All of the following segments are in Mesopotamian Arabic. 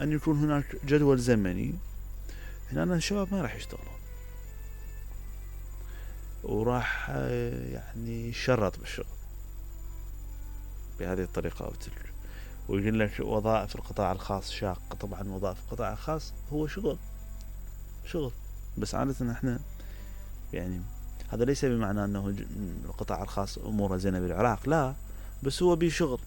أن يكون هناك جدول زمني. هنا الشباب ما راح يشتغلون وراح يعني يشرط بالشغل بهذه الطريقة أو تلك، ويقول لك وظائف القطاع الخاص شاقة. طبعا وظائف القطاع الخاص هو شغل، بس عادة احنا يعني هذا ليس بمعنى أنه القطاع الخاص أموره زينة بالعراق، لا، بس هو بشغل،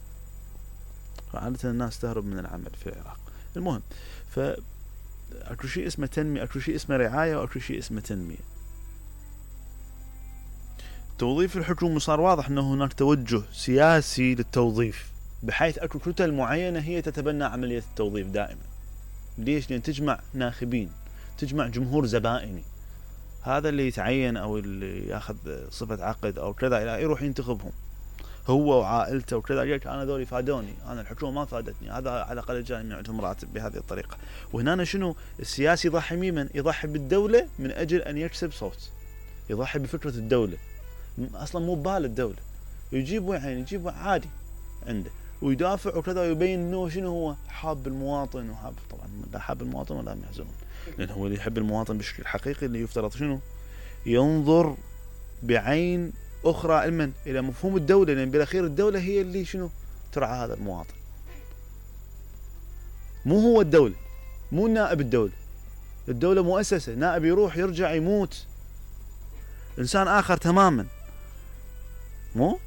فعادة الناس تهرب من العمل في العراق. المهم، فأكو شيء اسمه تنمية، أكو شيء اسمه رعاية، وأكو شيء اسمه تنمية. توظيف الحكومة صار واضح أنه هناك توجه سياسي للتوظيف، بحيث أكو كتل معينة هي تتبنى عملية التوظيف دائما. ليش؟ لأن تجمع ناخبين، تجمع جمهور زبائني، هذا اللي يتعين أو اللي ياخذ صفة عقد أو كذا يروح ينتخبهم هو وعائلته وكذا. يقولك أنا ذولي فادوني، أنا الحكومة ما فادتني، هذا على الأقل جاني من عندهم راتب بهذه الطريقة. وهنا شنو السياسي يضحي ممن؟ يضحي بالدولة من أجل أن يكسب صوت، يضحي بفكرة الدولة، أصلا مو ببال الدولة، يجيب يعني يجيب عادي عنده ويدافع وكذا، ويبين إنه شنو هو حاب المواطن وحاب. طبعا لا حاب المواطن ولا يحزنون، لأن هو اللي يحب المواطن بشكل حقيقي اللي يفترض شنو ينظر بعين أخرى علما إلى مفهوم الدولة، لأن بالأخير الدولة هي اللي شنو ترعى هذا المواطن، مو هو الدولة، مو نائب الدولة. الدولة مؤسسة، نائب يروح يرجع يموت إنسان آخر تماما، مو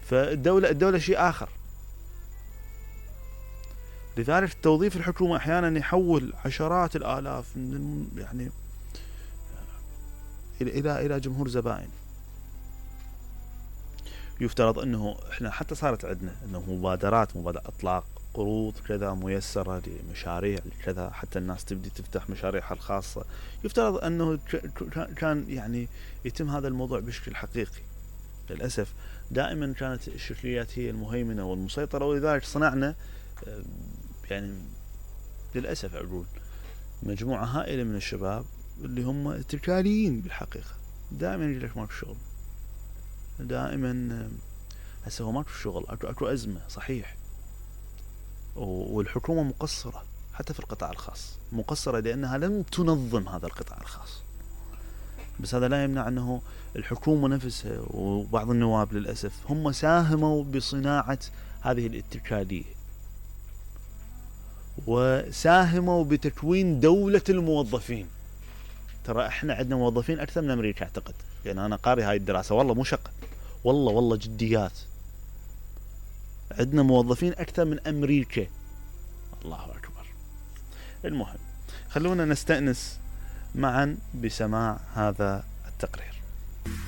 فالدولة شيء آخر. لذلك توظيف الحكومة أحيانا يحول عشرات الآلاف من يعني إلى جمهور زبائن. يفترض أنه إحنا حتى صارت عندنا أنه مبادرات إطلاق قروض كذا ميسرة لمشاريع كذا، حتى الناس تبدي تفتح مشاريعها الخاصة. يفترض أنه كان يعني يتم هذا الموضوع بشكل حقيقي. للأسف دائما كانت الشكليات هي المهيمنة والمسيطرة، ولذلك صنعنا يعني للأسف أقول مجموعة هائلة من الشباب اللي هم اتكاليين بالحقيقة. دائما يجي لك ماكو شغل، دائما هسه هو ماكو شغل، اكو أزمة صحيح، والحكومة مقصرة حتى في القطاع الخاص، مقصرة لأنها لم تنظم هذا القطاع الخاص. بس هذا لا يمنع أنه الحكومة نفسها وبعض النواب للأسف هم ساهموا بصناعة هذه الاتكالية، وساهموا بتكوين دولة الموظفين. ترى احنا عندنا موظفين أكثر من أمريكا أعتقد، يعني أنا قاري هاي الدراسة، والله مو شقة، والله جديات، عندنا موظفين أكثر من أمريكا. الله أكبر. المهم خلونا نستأنس معا بسماع هذا التقرير.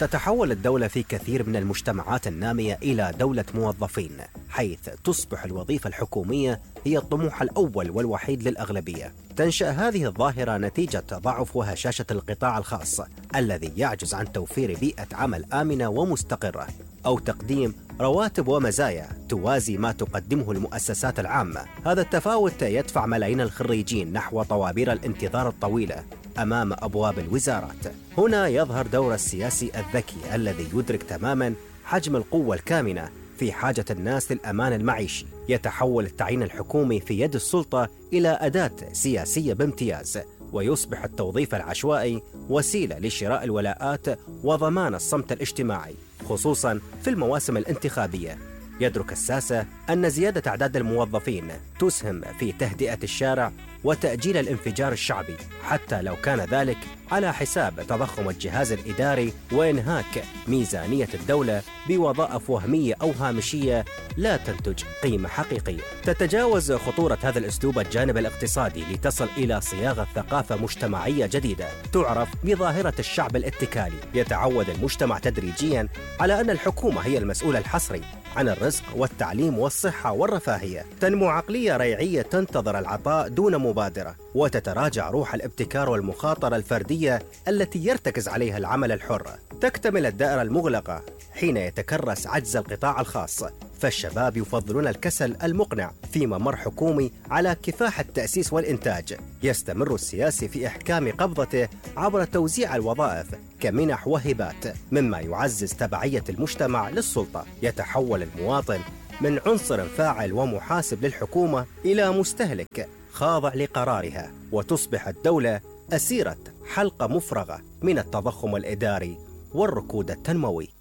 تتحول الدولة في كثير من المجتمعات النامية إلى دولة موظفين، حيث تصبح الوظيفة الحكومية هي الطموح الأول والوحيد للأغلبية. تنشأ هذه الظاهرة نتيجة ضعف وهشاشة القطاع الخاص الذي يعجز عن توفير بيئة عمل آمنة ومستقرة، أو تقديم رواتب ومزايا توازي ما تقدمه المؤسسات العامة. هذا التفاوت يدفع ملايين الخريجين نحو طوابير الانتظار الطويلة أمام أبواب الوزارات. هنا يظهر دور السياسي الذكي الذي يدرك تماماً حجم القوة الكامنة في حاجة الناس للأمان المعيشي. يتحول التعيين الحكومي في يد السلطة إلى أداة سياسية بامتياز، ويصبح التوظيف العشوائي وسيلة لشراء الولاءات وضمان الصمت الاجتماعي، خصوصاً في المواسم الانتخابية. يدرك الساسة أن زيادة أعداد الموظفين تسهم في تهدئة الشارع وتأجيل الانفجار الشعبي، حتى لو كان ذلك على حساب تضخم الجهاز الإداري وإنهاك ميزانية الدولة بوظائف وهمية أو هامشية لا تنتج قيمة حقيقية. تتجاوز خطورة هذا الأسلوب الجانب الاقتصادي لتصل إلى صياغة ثقافة مجتمعية جديدة تعرف بظاهرة الشعب الاتكالي. يتعود المجتمع تدريجياً على أن الحكومة هي المسؤول الحصري عن الرزق والتعليم والصحة والرفاهية. تنمو عقلية ريعية تنتظر العطاء دون مبادرة، وتتراجع روح الابتكار والمخاطرة الفردية التي يرتكز عليها العمل الحر. تكتمل الدائرة المغلقة حين يتكرس عجز القطاع الخاص، فالشباب يفضلون الكسل المقنع في ممر حكومي على كفاح التأسيس والإنتاج. يستمر السياسي في إحكام قبضته عبر توزيع الوظائف كمنح وهبات، مما يعزز تبعية المجتمع للسلطة. يتحول المواطن من عنصر فاعل ومحاسب للحكومة إلى مستهلك خاضع لقرارها، وتصبح الدولة أسيرة حلقة مفرغة من التضخم الإداري والركود التنموي.